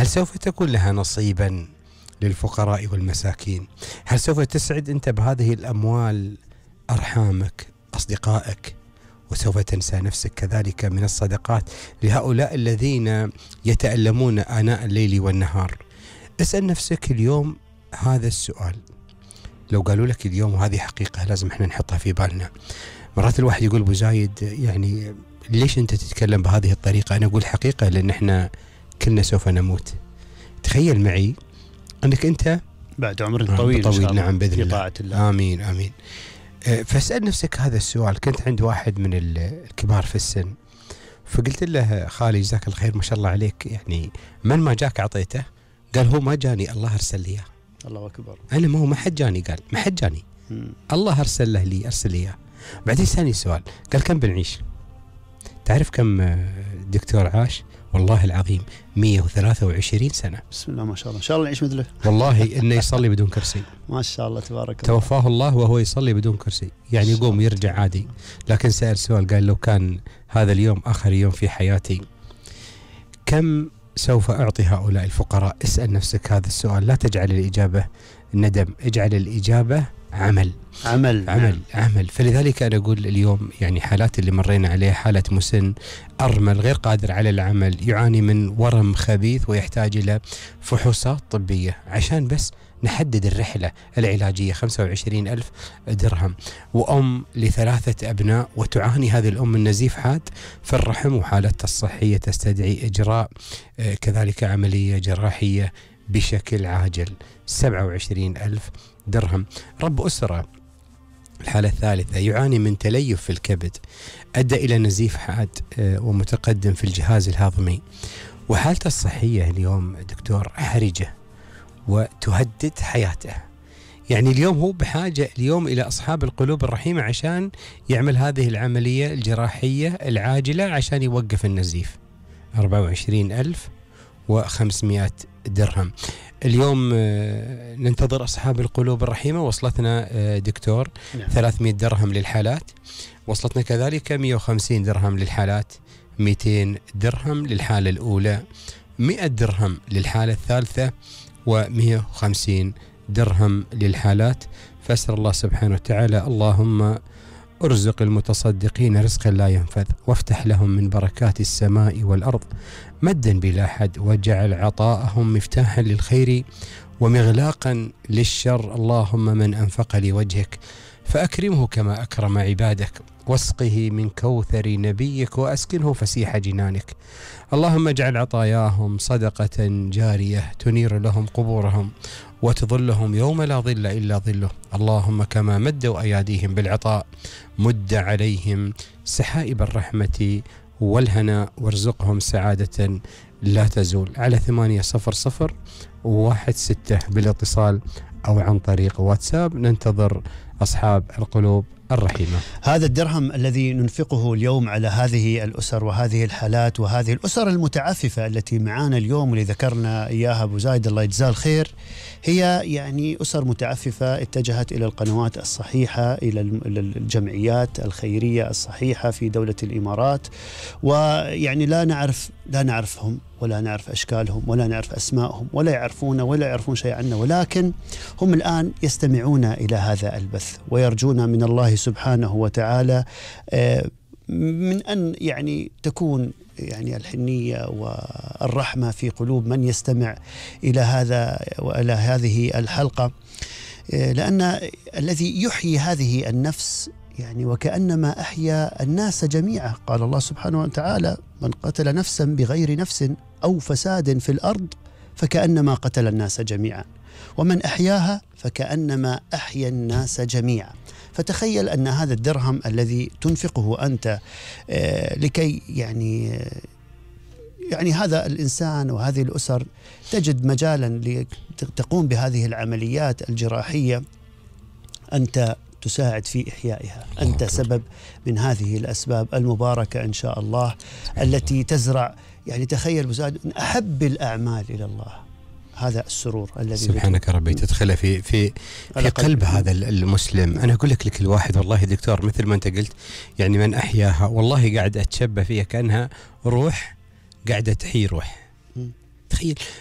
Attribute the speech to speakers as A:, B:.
A: هل سوف تكون لها نصيبا للفقراء والمساكين؟ هل سوف تسعد أنت بهذه الأموال أرحامك، أصدقائك؟ وسوف تنسى نفسك كذلك من الصدقات لهؤلاء الذين يتألمون آناء الليل والنهار. اسأل نفسك اليوم هذا السؤال. لو قالوا لك اليوم، وهذه حقيقة لازم احنا نحطها في بالنا، مرات الواحد يقول أبو زايد يعني ليش أنت تتكلم بهذه الطريقة؟ أنا أقول حقيقة لأن احنا كلنا سوف نموت. تخيل معي أنك أنت
B: بعد عمر طويل إن شاء الله.
A: نعم بإذن
B: في
A: الله.
B: طاعة الله.
A: آمين آمين. فاسأل نفسك هذا السؤال. كنت عند واحد من الكبار في السن، فقلت له خالي جزاك الخير ما شاء الله عليك، يعني من ما جاك أعطيته؟ قال هو ما جاني، الله أرسل لي إياه.
B: الله أكبر.
A: أنا ما حد جاني. قال ما حد جاني، الله أرسل له لي، أرسل لي إياه. بعدين ثاني سؤال، قال كم بنعيش؟ تعرف كم دكتور عاش؟ والله العظيم 123 سنة.
B: بسم الله ما شاء الله، إن شاء الله نعيش مثله.
A: والله إنه يصلي بدون كرسي.
B: ما شاء الله تبارك الله.
A: توفاه الله وهو يصلي بدون كرسي، يعني يقوم يرجع عادي. لكن سأل سؤال، قال لو كان هذا اليوم آخر يوم في حياتي كم سوف أعطي هؤلاء الفقراء؟ اسأل نفسك هذا السؤال. لا تجعل الإجابة ندم، اجعل الإجابة عمل. عمل. فلذلك أنا أقول اليوم يعني حالات اللي مرينا عليها، حالة مسن أرمل غير قادر على العمل، يعاني من ورم خبيث ويحتاج إلى فحوصات طبية عشان بس نحدد الرحلة العلاجية، 25,000 درهم. وأم ل3 أبناء وتعاني هذه الأم من نزيف حاد في الرحم، وحالتها الصحية تستدعي إجراء كذلك عملية جراحية بشكل عاجل، 27,000 درهم. رب أسرة الحالة الثالثة يعاني من تليف في الكبد أدى إلى نزيف حاد ومتقدم في الجهاز الهضمي، وحالته الصحية اليوم دكتور حرجة وتهدد حياته. يعني اليوم هو بحاجة اليوم إلى أصحاب القلوب الرحيمة عشان يعمل هذه العملية الجراحية العاجلة عشان يوقف النزيف. 24,500 درهم. اليوم ننتظر أصحاب القلوب الرحيمة. وصلتنا دكتور 300 درهم للحالات، وصلتنا كذلك 150 درهم للحالات، 200 درهم للحالة الأولى، 100 درهم للحالة الثالثة، و150 درهم للحالات. فأسأل الله سبحانه وتعالى اللهم ارزق المتصدقين رزقا لا ينفذ، وافتح لهم من بركات السماء والأرض مدا بلا حد، واجعل عطاءهم مفتاحا للخير ومغلاقا للشر. اللهم من أنفق لوجهك فأكرمه كما أكرم عبادك، واسقه من كوثر نبيك وأسكنه فسيح جنانك. اللهم اجعل عطاياهم صدقة جارية تنير لهم قبورهم وتظلهم يوم لا ظل إلا ظله. اللهم كما مدوا أياديهم بالعطاء مد عليهم سحائب الرحمة والهنا، وارزقهم سعادة لا تزول. على 800-16 بالاتصال أو عن طريق واتساب ننتظر أصحاب القلوب الرحيمة.
B: هذا الدرهم الذي ننفقه اليوم على هذه الأسر وهذه الحالات وهذه الأسر المتعففة التي معانا اليوم واللي ذكرنا إياها أبو زايد الله يجزاه الخير، هي يعني أسر متعففة اتجهت إلى القنوات الصحيحة، إلى الجمعيات الخيرية الصحيحة في دولة الإمارات، ويعني لا نعرفهم ولا نعرف أشكالهم ولا نعرف أسمائهم ولا يعرفونا ولا يعرفون شيء عنا، ولكن هم الآن يستمعون إلى هذا البث ويرجون من الله سبحانه وتعالى من أن يعني تكون يعني الحنية والرحمة في قلوب من يستمع إلى هذا وإلى هذه الحلقة، لأن الذي يحيي هذه النفس يعني وكأنما أحيا الناس جميعا. قال الله سبحانه وتعالى: من قتل نفسا بغير نفس أو فساد في الأرض فكأنما قتل الناس جميعا، ومن أحياها فكأنما أحيا الناس جميعا. فتخيل أن هذا الدرهم الذي تنفقه أنت لكي يعني هذا الإنسان وهذه الأسر تجد مجالا لتقوم بهذه العمليات الجراحية، أنت تساعد في إحيائها، أنت سبب من هذه الأسباب المباركة إن شاء الله التي تزرع يعني تخيل بزاد من أحب الأعمال إلى الله هذا السرور الذي
A: سبحانك ربي تدخله في قلب هذا المسلم. أنا أقول لك لكل واحد والله دكتور مثل ما أنت قلت يعني من أحياها والله قاعد أتشبه فيها كأنها روح قاعدة تحيي روح. تخيل